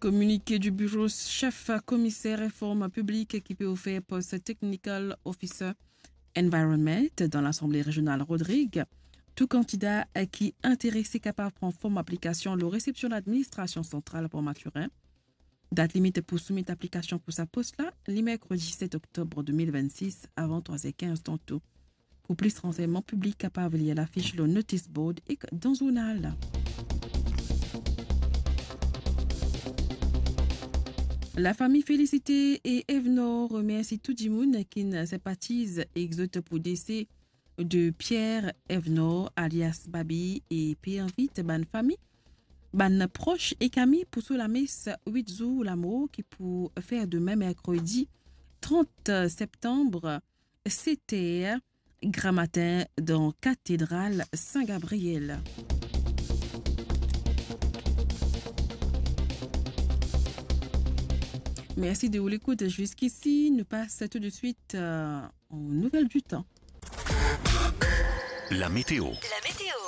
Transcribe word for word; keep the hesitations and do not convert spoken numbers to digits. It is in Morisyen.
Communiqué du bureau chef commissaire et forme publique qui peut offrir poste Technical Officer Environment dans l'Assemblée régionale Rodrigue. Tout candidat qui intéressé capable prendre forme application lor réception l'administration centrale pour Mathurin. Dat limit pou soumet aplikasion pou sa pos la, li merkredi set oktob de mil vennsis avan trwa er kinz tanto. Pou plis ransegnman, piblik kapav lir lafis lor notice board ek dan zournal. Lafami Félicité e Evnor remersi tou dimoun ki'nn sinpatiz ek zot pou dese de Pierre Evnor alias Babi e pe invit bann fami, bann pros ek ami pou so lames wit zour lamor ki pou fer demin merkredi trant septanm, set er, gramatin dan katedral Sin Gabriel. Mersi de ou lekout ziska isi. Nou pas tou de swit, euh, an nouvel ditan. La météo. La météo.